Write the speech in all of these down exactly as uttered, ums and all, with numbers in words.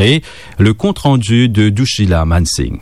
Et le compte-rendu de Dushila Mansingh.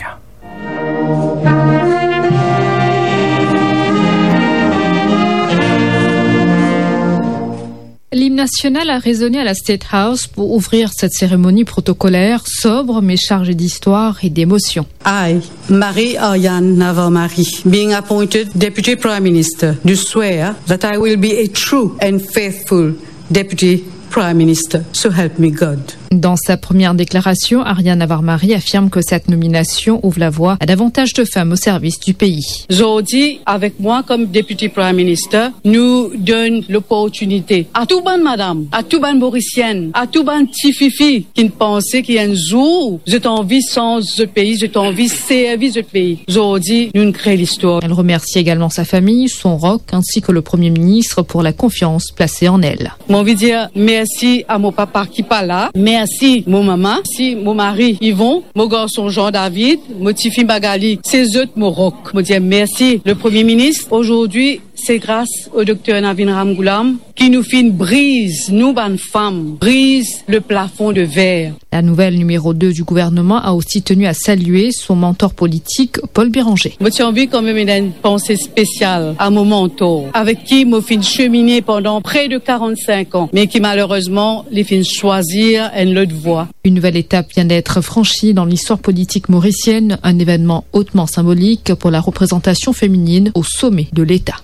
L'hymne national a résonné à la State House pour ouvrir cette cérémonie protocolaire sobre mais chargée d'histoire et d'émotion. I, Marie Ariane Navarre-Marie, being appointed Deputy Prime Minister, do swear that I will be a true and faithful Deputy Prime Minister, so help me God. Dans sa première déclaration, Ariane Navarre-Marie affirme que cette nomination ouvre la voie à davantage de femmes au service du pays. Zordi, avek mwa kom Deputy Prime Minister, nou donn loportinite a tou bann madam, a tou bann Morisienn, a tou bann tififi ki panse ki enn zour zot anvi sanz zot pei, zot anvi servi zot pei. Zordi, nou kre listwar. Elle remercie également sa famille, son rock, ainsi que le Premier ministre pour la confiance placée en elle. Mo anvi dir mersi a mo papa ki pa la, mersi mo mama, mersi mo mari Yvon, mo garson Jean David, mo tifi Magali, se zot mo rock. Mo dir mersi le Premier ministre. Aujourd'hui, c'est grâce au docteur Navin Ramgoolam ki nou finn briz, nou bann fam, briz le plafond de verre. La nouvelle numéro deux du gouvernement a aussi tenu à saluer son mentor politique, Paul Bérenger. Mo ti anvi kanmem ena enn panse spesial a mo mentor, avek ki mo finn semine pandan pre de quarante-cinq ans, me ki malerezman, li finn swazir enn lot vwa. Une nouvelle étape vient d'être franchie dans l'histoire politique mauricienne, un événement hautement symbolique pour la représentation féminine au sommet de l'État.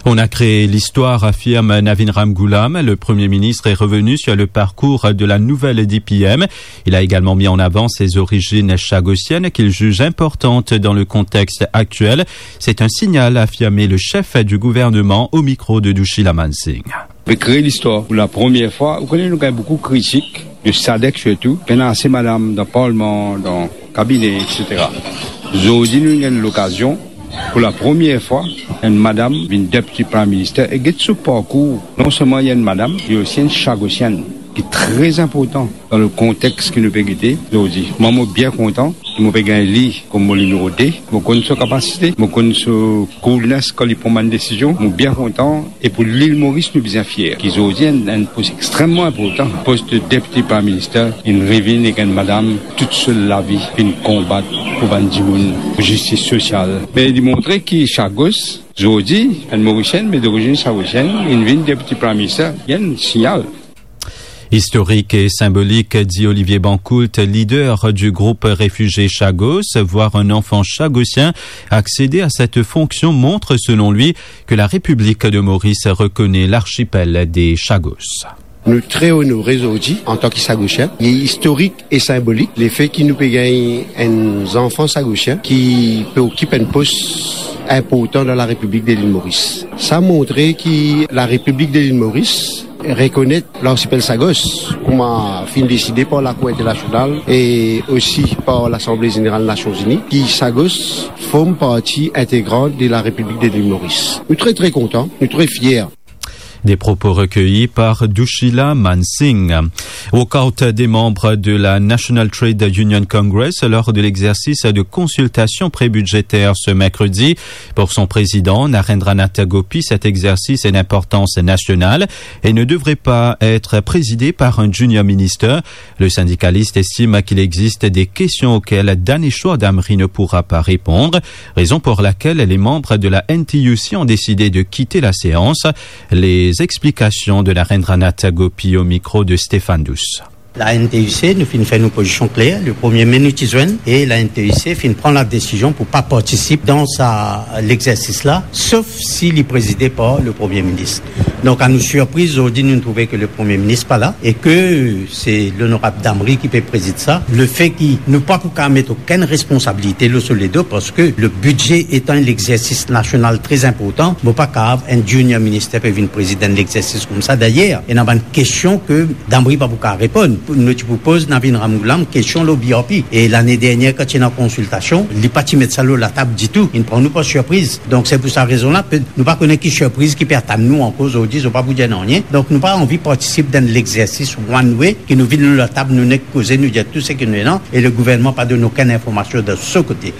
On a créé l'histoire, affirme Navin Ramgoolam. Le Premier ministre est revenu sur le parcours de la nouvelle D P M. Il a également mis en avant ses origines chagossiennes qu'il juge importantes dans le contexte actuel. C'est un signal, a affirmé le chef du gouvernement au micro de Dushila Mansingh. Pe kre listwar pou lapremier fwa. Ou kone nou gagn boukou kritik, de SADC sirtou, pena ase madam dan parlman, dan kabine, et cetera. Zordi nou gagn lokazion, pou lapremier fwa, enn madam vinn Deputy Prime Minister, e get so parkour. Non selman li enn madam, li osi enn Chagosienn, ki tre inportan dan le kontex ki nou pe gete zordi. Mwa, mo bien kontan ki mo pe gagn li kom mo nimero de. Mo konn so kapasite, mo konn so coolness kan li pran bann desizion. Mo bien kontan. E pou Lil Moris, nou bizin fier ki zordi enn, enn pos extrememan inportan, pos de Deputy Prime Minister, inn revinn ek enn madam, tout so lavi, inn konbat pou bann dimoun, pou zistis sosial. Me li montre ki Chagos, zordi, enn Morisien, me dorizinn Chagosienn, inn vinn Deputy Prime Minister, enn signal. Historique et symbolique, dit Olivier Bancoult, leader du groupe réfugié Chagos. Voir un enfant chagosien accéder à cette fonction montre, selon lui, que la République de Maurice reconnaît l'archipel des Chagos. Nou tre onore zordi antan ki Chagosien. Li istorik e sinbolik, lefe ki nou pe gagn enn zanfan Chagosien ki pe okip enn pos inportan dan la Repiblik de Lil Moris. Sa montre ki la Repiblik de Lil Moris rekonet larsipel Chagos, kouma finn deside par Lakour Internasional e osi par Lasanble Zeneral Nasion Zini, ki Chagos form parti integran de la Repiblik de Lil Moris. Nou tre, tre kontan, nou tre fier. Des propos recueillis par Dushila Mansingh. Walkout des membres de la National Trade Union Congress lors de l'exercice de consultation pré-budgétaire ce mercredi. Pour son président, Narendranath Gopi, cet exercice est d'importance nationale et ne devrait pas être présidé par un junior minister. Le syndicaliste estime qu'il existe des questions auxquelles Danesh Damri ne pourra pas répondre, raison pour laquelle les membres de la N T U C ont décidé de quitter la séance. Les explications de Narendranath Gopi au micro de Stéphane Douce. La N T U C, nou finn fer nou pozision kler, le premie me nou ti zwenn, e la N T U C finn pran la desizion pou pa partisip dan sa, lexersis la, sof si li prezide par le Premie Minis. Donk, a nou sirpriz, zordi nou trouve ke le Premie Minis pa la e ke se Lonorab Damri ki pe prezid sa. Lefe ki nou pa pou kav met okenn responsabilite lor so ledo, parski le bidze etan enn lexersis nasional tre inportan, mo pa kav enn junior minister pe vinn prezid enn lexersis koumsa. Dayer, ena bann kestion ke Damri pa pou kav reponn. Nou ti pou poz Navin Ramgoolam kestion lor B R P. E lane dernier, kan ti ena konsiltasion, li pa ti met sa lor latab ditou. Inn pran nou par sirpriz. Donk, se pou sa rezon la, pe-, nou pa kone ki sirpriz ki pe atann nou ankor zordi, zot pa pou dir nanye. Donk, nou pa anvi partisip dan lexersis one way, ki nou vinn lor latab, nou nek koze, nou dir tou seki nou ena, e le gouvernman pa donn okenn informasion de so kote.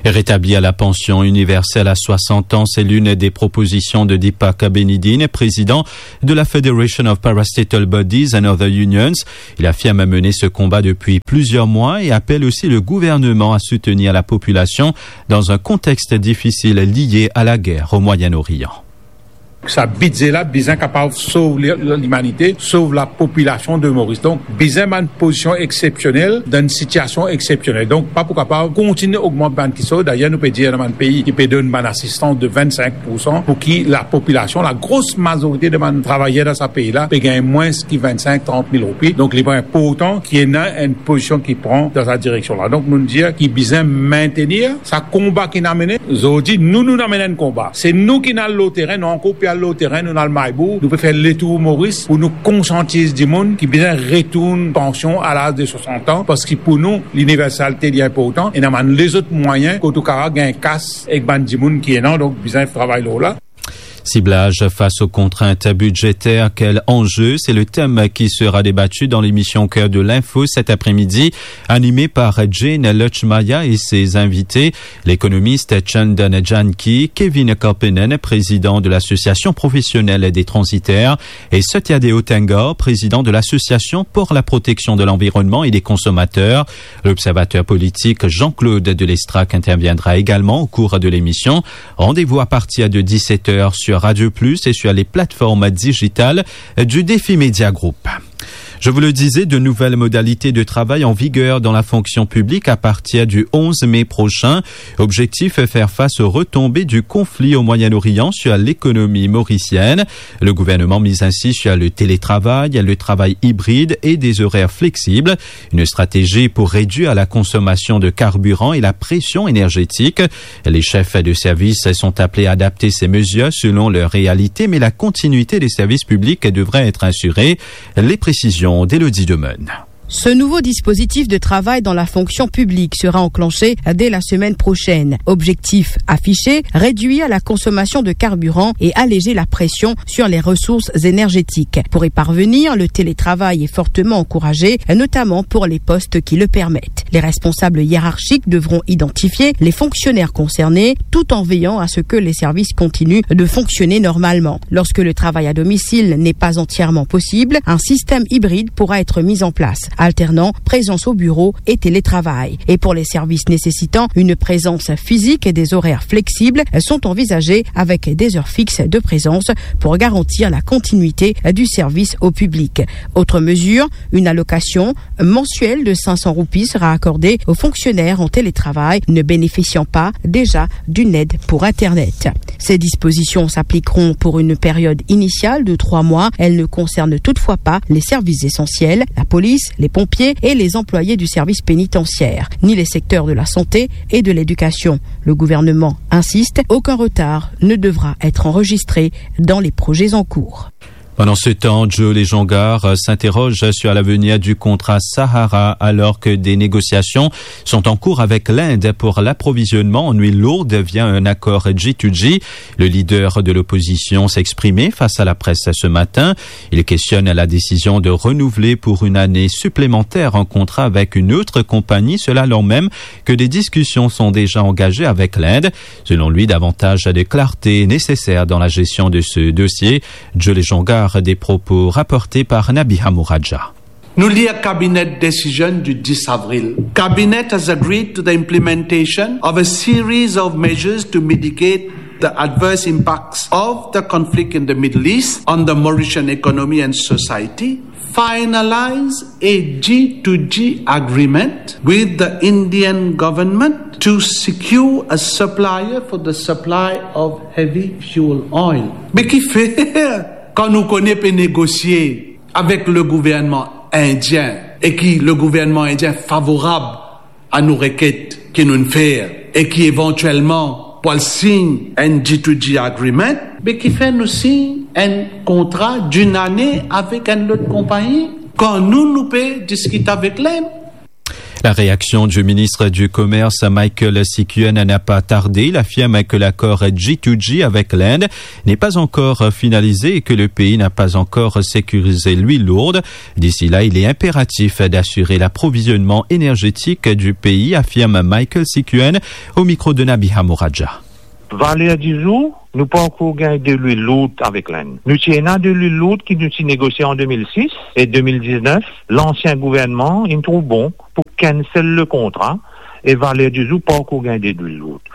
Rétablir la pension universelle à soixante ans, c'est l'une des propositions de Deepak Benedin, président de la Federation of Parastatal Bodies and Other Unions. Il affirme mener ce combat depuis plusieurs mois et appelle aussi le gouvernement à soutenir la population dans un contexte difficile lié à la guerre au Moyen-Orient. Sa bidze la bizin kapav sov li-, limanite, sov lapopilasion de Moris. Donk, bizin bann pozision exsepsionel dan enn sitiasion exsepsionel. Donk, pa pou kapav kontinie ogmant bann kisoz. Dayer, nou pe dir, ena bann pei ki pe donn bann asistans de vennsenk poursan pou ki lapopilasion, lagro mazorite de bann travayer dan sa pei la, pe gagn mwins ki vennsenk, trant mil roupi. Donk, li inportan ki ena enn pozision ki pran dan sa direksion la. Donk, nou dir ki bizin mintenir sa konba ki nou al mennen. Zordi, nou, nou al mennen enn konba. Se nou ki al lor terin, nou ankor pe al lor terin, nou al Maybou, nou pe fer letour Moris pou nou konsiantiz dimoun ki bizin retourn pansion a laz de swasant an, parski pou nou, liniversalite, li inportan, e ena bann lezot mwayin kot ou kapav gagn kas ek bann dimoun ki ena, donk bizin travay lor la. Ciblage face aux contraintes budgétaires, quel enjeu ? C'est le thème qui sera débattu dans l'émission Cœur de l'info cet après-midi, animée par Jane Lutchmaya et ses invités, l'économiste Chandan Janki, Kevin Karpenen, président de l'association professionnelle des transitaires, et Satya Deo Tengar, président de l'association pour la protection de l'environnement et des consommateurs. L'observateur politique Jean-Claude de Lestrac interviendra également au cours de l'émission. Rendez-vous à partir de dix-sept heures sur Radio Plus et sur les plateformes digitales du Défi Média Group. Je vous le disais, de nouvelles modalités de travail en vigueur dans la fonction publique à partir du onze mai prochain. Objectif, faire face aux retombées du conflit au Moyen-Orient sur l'économie mauricienne. Le gouvernement mise ainsi sur le télétravail, le travail hybride et des horaires flexibles. Une stratégie pour réduire la consommation de carburant et la pression énergétique. Les chefs de service sont appelés à adapter ces mesures selon leur réalité, mais la continuité des services publics devrait être assurée. Les précisions d'Élodie Demeune. Ce nouveau dispositif de travail dans la fonction publique sera enclenché dès la semaine prochaine. Objectif affiché, réduire la consommation de carburant et alléger la pression sur les ressources énergétiques. Pour y parvenir, le télétravail est fortement encouragé, notamment pour les postes qui le permettent. Les responsables hiérarchiques devront identifier les fonctionnaires concernés tout en veillant à ce que les services continuent de fonctionner normalement. Lorsque le travail à domicile n'est pas entièrement possible, un système hybride pourra être mis en place, alternant présence au bureau et télétravail. Et pour les services nécessitant une présence physique, des horaires flexibles sont envisagés avec des heures fixes de présence pour garantir la continuité du service au public. Autre mesure, une allocation mensuelle de cinq cents roupies sera accordée aux fonctionnaires en télétravail ne bénéficiant pas déjà d'une aide pour Internet. Ces dispositions s'appliqueront pour une période initiale de trois mois. Elles ne concernent toutefois pas les services essentiels, la police, les pompiers et les employés du service pénitentiaire, ni les secteurs de la santé et de l'éducation. Le gouvernement insiste, aucun retard ne devra être enregistré dans les projets en cours. Pendant ce temps, Joe Lejongar, euh, s'interroge sur l'avenir du contrat Sahara alors que des négociations sont en cours avec l'Inde pour l'approvisionnement en huile lourde via un accord G deux G. Le leader de l'opposition s'exprimait face à la presse ce matin. Il questionne la décision de renouveler pour une année supplémentaire un contrat avec une autre compagnie, cela alors même que des discussions sont déjà engagées avec l'Inde. Selon lui, davantage de clarté est nécessaire dans la gestion de ce dossier. Joe Lejongar, des propos rapportés par Nabiha Mouraja. Nou lir Cabinet Decision du dix avril. Cabinet has agreed to the implementation of a series of measures to mitigate the adverse impacts of the conflict in the Middle East on the Mauritian economy and society. Finalize a G two G agreement with the Indian government to secure a supplier for the supply of heavy fuel oil. Me kifer, kan nou kone pe negosie avek le gouvernman indien e ki le gouvernman indien favorab a nou reket ki nou'nn fer e ki evantielman pou al sign enn G two G agreement, be kifer nou sign enn kontra d'une année avek enn lot konpagni kan nou, nou pe diskit avek Lind? La réaction du ministre du Commerce, Michael Sikuen, n'a pas tardé. Il affirme que l'accord G to G avec l'Inde n'est pas encore finalisé et que le pays n'a pas encore sécurisé l'huile lourde. D'ici là, il est impératif d'assurer l'approvisionnement énergétique du pays, affirme Michael Sikuen au micro de Nabiha Moradja. Valer dizour, nou pa ankor gagn delwil lourd avek Lenn. Nou ti ena delwil lourd ki nou ti negosie an de mil sis e de mil diznef, lansien gouvernman inn trouv bon pou cancel le kontra e valer dizour pa ankor gagn delwil lourd.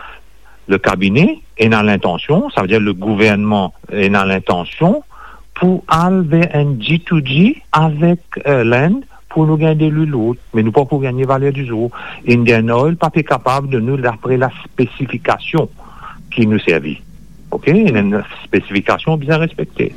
Le kabine ena lintansion, savedir le gouvernman ena lintansion pou al ver enn G to G avek, eh, Lenn pou nou gagn delwil lourd, me nou pa pou gagne valer dizour. Indian Oil pa pe kapav donn nou dapre la spesifikasion ki nou servi. Ok, enn spesifikasion bizin respekte.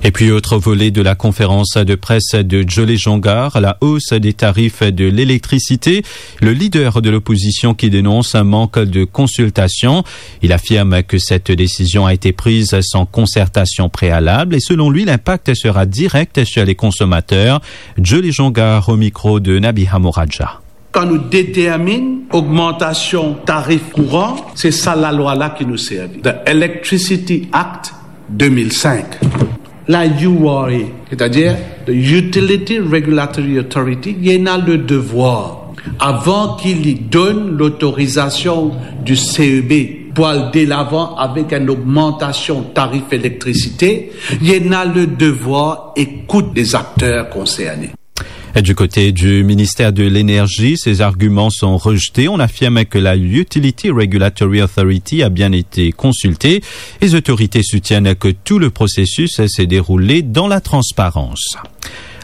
Et puis, autre volet de la conférence de presse de Jolly Jongar, la hausse des tarifs de l'électricité. Le leader de l'opposition qui dénonce un manque de consultation. Il affirme que cette décision a été prise sans concertation préalable et selon lui, l'impact sera direct sur les consommateurs. Jolly Jongar au micro de Nabiha Moradja. Kan nou determinn ogmantasion tarif kouran, se sa lalwa la ki nou servi. The Electricity Act de mil sink. La U R A, setadir the Utility Regulatory Authority, li ena le devwar, avan ki li donn lotorizasion di C E B pou al delavan avek enn ogmantasion tarif elektrisite, li ena le devwar ekout les acteurs concernés. Et du côté du ministère de l'Énergie, ces arguments sont rejetés. On affirme que la Utility Regulatory Authority a bien été consultée. Les autorités soutiennent que tout le processus s'est déroulé dans la transparence.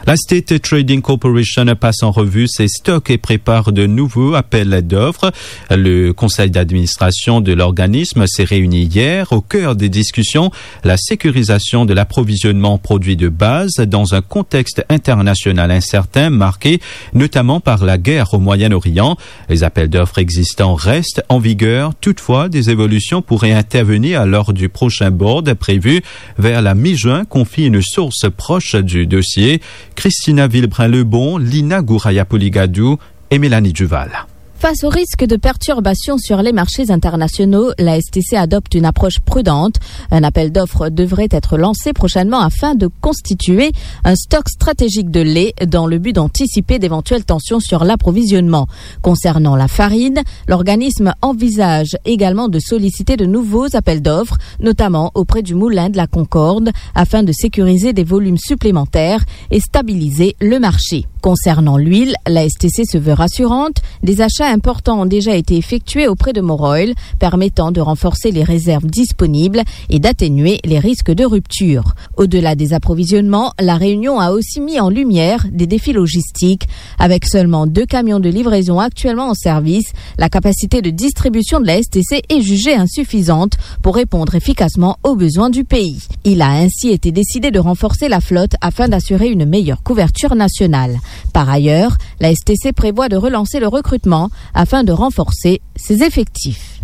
La State Trading Corporation passe en revue ses stocks et prépare de nouveaux appels d'offres. Le conseil d'administration de l'organisme s'est réuni hier. Au cœur des discussions, la sécurisation de l'approvisionnement en produits de base dans un contexte international incertain, marqué notamment par la guerre au Moyen-Orient. Les appels d'offres existants restent en vigueur. Toutefois, des évolutions pourraient intervenir lors du prochain board prévu vers la mi-juin, confie une source proche du dossier. Christina Villeprin-Lebon, Lina Gouraya-Pouligadou et Mélanie Duval. Face au risque de perturbations sur les marchés internationaux, la S T C adopte une approche prudente. Un appel d'offres devrait être lancé prochainement afin de constituer un stock stratégique de lait dans le but d'anticiper d'éventuelles tensions sur l'approvisionnement. Concernant la farine, l'organisme envisage également de solliciter de nouveaux appels d'offres, notamment auprès du moulin de la Concorde, afin de sécuriser des volumes supplémentaires et stabiliser le marché. Concernant l'huile, la S T C se veut rassurante. Des achats importants ont déjà été effectués auprès de Moroil, permettant de renforcer les réserves disponibles et d'atténuer les risques de rupture. Au-delà des approvisionnements, la Réunion a aussi mis en lumière des défis logistiques. Avec seulement deux camions de livraison actuellement en service, la capacité de distribution de la S T C est jugée insuffisante pour répondre efficacement aux besoins du pays. Il a ainsi été décidé de renforcer la flotte afin d'assurer une meilleure couverture nationale. Par ailleurs, la S T C prévoit de relancer le recrutement afin de renforcer ses effectifs.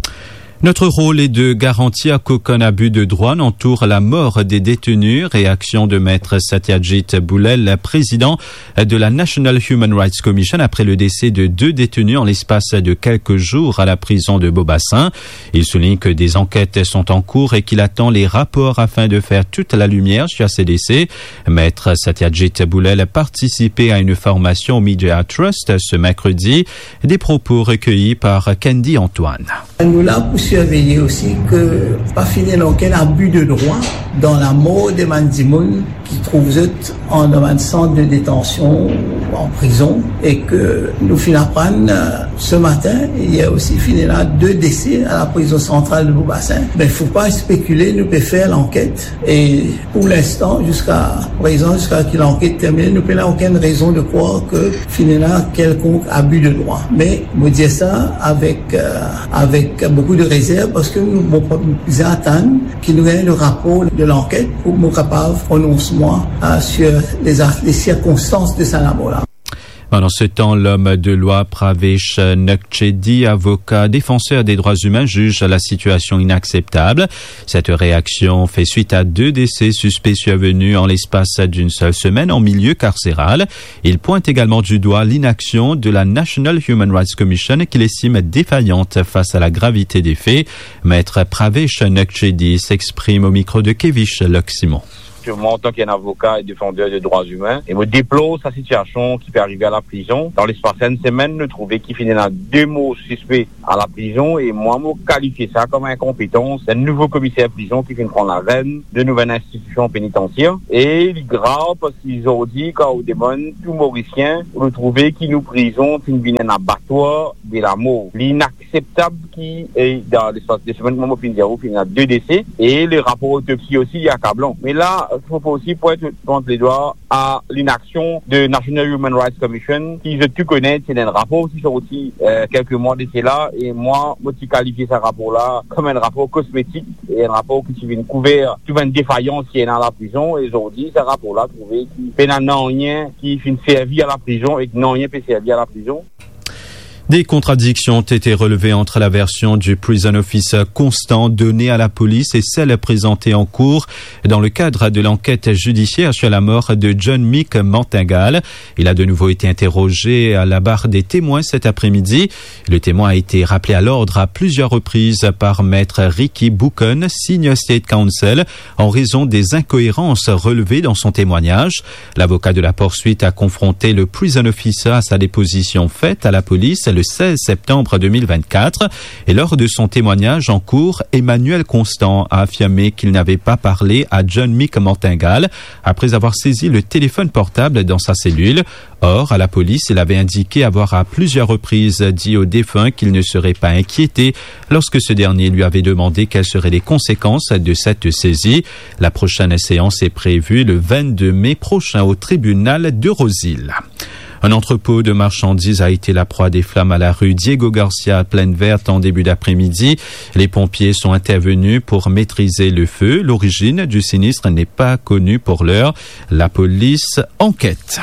Notre rôle est de garantir qu'aucun abus de droit n'entoure la mort des détenus, réaction de Maître Satyajit Boulel, président de la National Human Rights Commission, après le décès de deux détenus en l'espace de quelques jours à la prison de Beaubassin. Il souligne que des enquêtes sont en cours et qu'il attend les rapports afin de faire toute la lumière sur ces décès. Maître Satyajit Boulel participait à une formation au Media Trust ce mercredi. Des propos recueillis par Candy Antoine. Nou la pou sirveye osi ke pa finn ena okenn abi de drwa dan lamor de bann dimoun ki trouv zot an, dan bann sant de detansion ou an prizon, e ke nou finn aprann, euh, se matin, yer osi, finn ena de dese a la prizon santral de Beaubassin. Me fo pa spekile, nou pe fer lanket, e pou linstan, ziska prezan, ziska ki lanket termine, nou pena okenn rezon de krwar ke finn ena kelkonk abi de drwa. Me mo dir sa avek, euh, avek boukou de rezerv, parski nou, bon, nou bizin atann ki nou gagn le rapor de lanket pou nou kapav pronons mwa, euh, sur les a-, les sirkonstans de sa lamor la. Pendant ce temps, l'homme de loi Pravesh Nokchedi, avocat défenseur des droits humains, juge la situation inacceptable. Cette réaction fait suite à deux décès suspects survenus en l'espace d'une seule semaine en milieu carcéral. Il pointe également du doigt l'inaction de la National Human Rights Commission, qu'il estime défaillante face à la gravité des faits. Maître Pravesh Nokchedi s'exprime au micro de Kevish Loximon. Purement en tant qu'un avocat et défenseur de droits humains, e mo deplor sa sitiasion ki pe arive a la prizon. Dan lespas enn semenn, nou trouve ki finn ena de mor sispe a la prizon, e mwa, mo kalifie sa kom inkonpetans enn nouvo komiser prizon ki finn pran larenn de nouvel institision penitansir. E li grav parski zordi, kan ou demann tou Morisien, ou trouve ki nou prizon finn vinn enn abatwar de lamor. Li inakseptab ki, e, dan lespas de semenn, kouma mo finn dir ou, finn ena de dese, e le rapor otopsi osi, li akablan. Me la, fo osi pwint, pwint ledwa a linaksion de National Human Rights Commission, ki zot tou kone, ti ena enn rapor ki sorti, e, kelke mwa de sela, e mwa, mo ti kalifie sa rapor la kom enn rapor kosmetik, e enn rapor ki ti vinn kouver tou bann defayans ki ena la prizon, e zordi, sa rapor la trouve ki pena nanye ki finn servi a la prizon, e nanye pe servi a la prizon. Des contradictions ont été relevées entre la version du prison officer constant donnée à la police et celle présentée en cour dans le cadre de l'enquête judiciaire sur la mort de John Mick Mantengal. Il a de nouveau été interrogé à la barre des témoins cet après-midi. Le témoin a été rappelé à l'ordre à plusieurs reprises par maître Ricky Booken, Senior State Counsel, en raison des incohérences relevées dans son témoignage. L'avocat de la poursuite a confronté le prison officer à sa déposition faite à la police le seize septembre deux mille vingt-quatre. Et lors de son témoignage en cour, Emmanuel Constant a affirmé qu'il n'avait pas parlé à John Mick Mantengal après avoir saisi le téléphone portable dans sa cellule. Or, à la police, il avait indiqué avoir à plusieurs reprises dit au défunt qu'il ne serait pas inquiété lorsque ce dernier lui avait demandé quelles seraient les conséquences de cette saisie. La prochaine séance est prévue le vingt-deux mai prochain au tribunal de Rose-Hill. Un entrepôt de marchandises a été la proie des flammes à la rue Diego Garcia, à Plaine Verte, en début d'après-midi. Les pompiers sont intervenus pour maîtriser le feu. L'origine du sinistre n'est pas connue pour l'heure. La police enquête.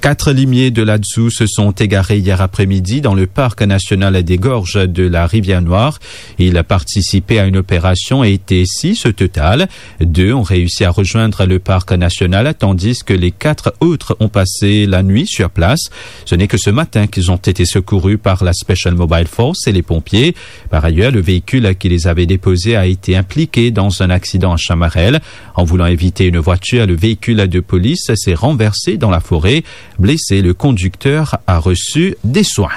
Quatre limiers de l'Atsou se sont égarés hier après-midi dans le parc national des gorges de la Rivière Noire. Ils participaient à une opération et étaient six au total. Deux ont réussi à rejoindre le parc national, tandis que les quatre autres ont passé la nuit sur place. Ce n'est que ce matin qu'ils ont été secourus par la Special Mobile Force et les pompiers. Par ailleurs, le véhicule qui les avait déposés a été impliqué dans un accident à Chamarel. En voulant éviter une voiture, le véhicule de police s'est renversé dans la forêt. Blessé, le conducteur a reçu des soins.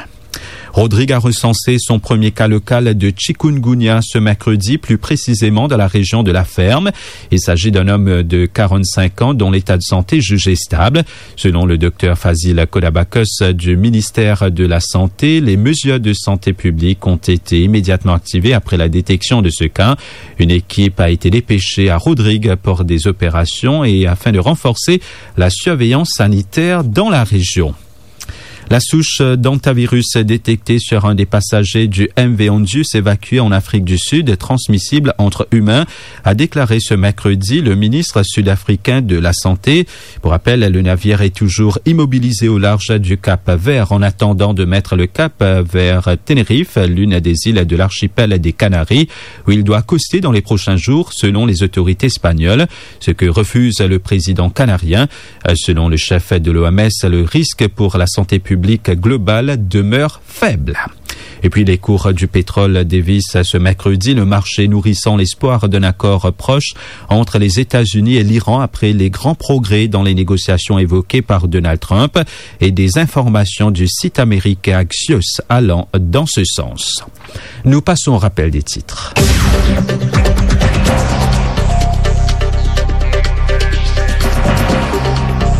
Rodrigue a recensé son premier cas local de chikungunya ce mercredi, plus précisément dans la région de La Ferme. Il s'agit d'un homme de quarante-cinq ans dont l'état de santé est jugé stable. Selon le docteur Fazil Kodabakos du ministère de la Santé, les mesures de santé publique ont été immédiatement activées après la détection de ce cas. Une équipe a été dépêchée à Rodrigue pour des opérations et afin de renforcer la surveillance sanitaire dans la région. La souche d'hantavirus détectée sur un des passagers du M V Hondius évacué en Afrique du Sud, transmissible entre humains, a déclaré ce mercredi le ministre sud-africain de la Santé. Pour rappel, le navire est toujours immobilisé au large du Cap Vert en attendant de mettre le cap vers Tenerife, l'une des îles de l'archipel des Canaries, où il doit accoster dans les prochains jours, selon les autorités espagnoles, ce que refuse le président canarien. Selon le chef de l'O M S, le risque pour la santé publique globale demeure faible. Et puis les cours du pétrole dévissent ce mercredi, le marché nourrissant l'espoir d'un accord proche entre les États-Unis et l'Iran après les grands progrès dans les négociations évoquées par Donald Trump et des informations du site américain Axios allant dans ce sens. Nous passons au rappel des titres.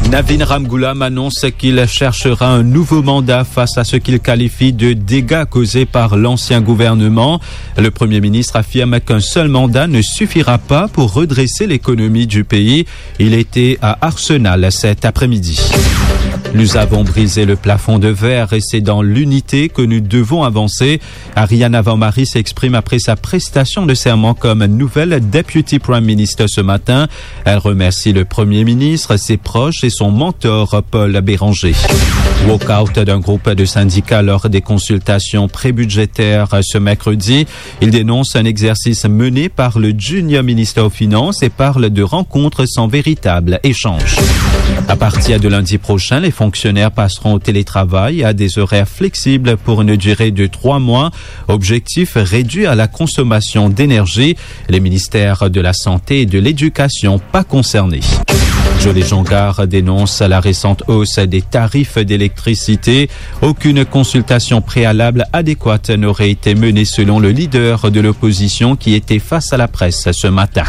Navin Ramgoolam annonce qu'il cherchera un nouveau mandat face à ce qu'il qualifie de dégâts causés par l'ancien gouvernement. Le Premier ministre affirme qu'un seul mandat ne suffira pas pour redresser l'économie du pays. Il était à Arsenal cet après-midi. Nous avons brisé le plafond de verre et c'est dans l'unité que nous devons avancer. Ariane Avanmari s'exprime après sa prestation de serment comme nouvelle Deputy Prime Minister ce matin. Elle remercie le Premier ministre, ses proches et son mentor Paul Bérenger. Walkout d'un groupe de syndicats lors des consultations prébudgétaires ce mercredi. Ils dénoncent un exercice mené par le junior ministre aux Finances et parlent de rencontres sans véritable échange. À partir de lundi prochain, les fonctionnaires passeront au télétravail à des horaires flexibles pour une durée de trois mois. Objectif, réduire la consommation d'énergie. Les ministères de la Santé et de l'Éducation pas concernés. Joly Jongar dénonce la récente hausse des tarifs d'électricité. Aucune consultation préalable adéquate n'aurait été menée, selon le leader de l'opposition qui était face à la presse ce matin.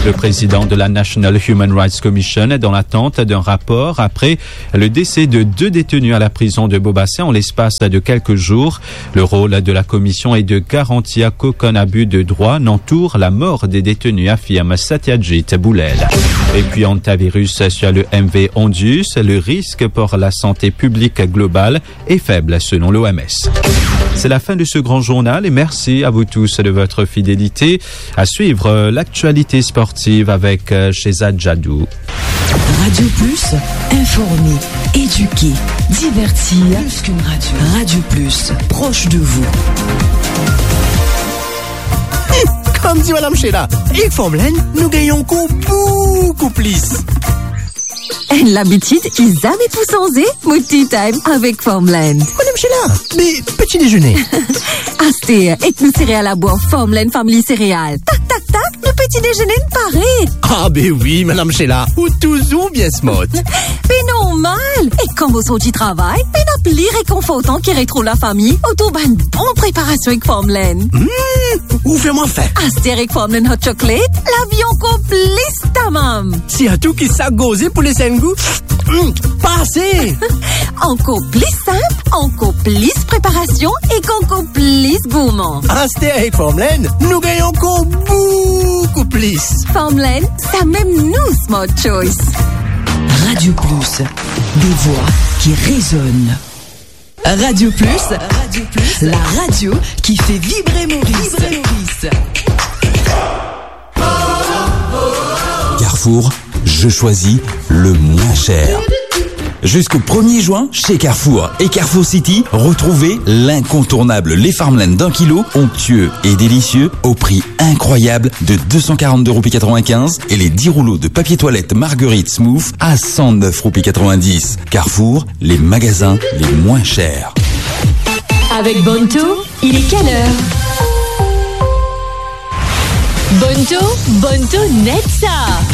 Le président de la National Human Rights Commission est dans l'attente d'un rapport après le décès de deux détenus à la prison de Bobassin en l'espace de quelques jours. Le rôle de la commission est de garantir qu'aucun abus de droit n'entoure la mort des détenus, affirme Satyajit Boulel. Et puis, hantavirus sur le M V Ondius, le risque pour la santé publique globale est faible selon l'O M S. C'est la fin de ce grand journal et merci à vous tous de votre fidélité. À suivre, euh, l'actualité sportive avec, euh, Shehzad Jadoo. Radio Plus, informer, éduquer, divertir. Plus qu'une radio. Radio Plus, proche de vous. Kouma dir Madam Sheila, ek Farmland, nou gagn ankor boukou plis. Enn labitid ki zame pou sanze, mo tea time avek Farmland. Madam Sheila, me peti dezene? Aster, ek nou sereal labwar Farmland Family Sereal. Tak, tak, tak, nou peti dezene pare. Ah be wi, Madam Sheila, ou touzour bien smart. Be normal, e kan mo sorti travay, pena pli rekonfortan ki retrouv lafami otour bann bon preparasion ek Farmland. Hmm, ou fer mwa fin. Aster ek Farmland Hot Chocolate, lavi ankor plis tamam. Sirtou ki sak gorze pou les enn gou, hmm, pase. Ankor plis sinp, ankor plis preparasion ek ankor plis gourman. Aster ek Farmland, nou gagn ankor boukou plis. Farmland, samem nou smart choice. Radio Plus, des voix qui résonnent. Radio Plus, Radio Plus, la radio qui fait vibrer Maurice. Vibrer Maurice. Carrefour, je choisis le moins cher. Jusqu'au premier juin, chez Carrefour et Carrefour City, retrouvez l'incontournable Les Farmland d'un kilo, onctueux et délicieux, au prix incroyable de deux cent quarante-deux roupies quatre-vingt-quinze, et les dix rouleaux de papier toilette Marguerite Smooth à cent neuf roupies quatre-vingt-dix. Carrefour, les magasins les moins chers. Avec Bonto, il est quelle heure ? Bonto, Bonto net sa.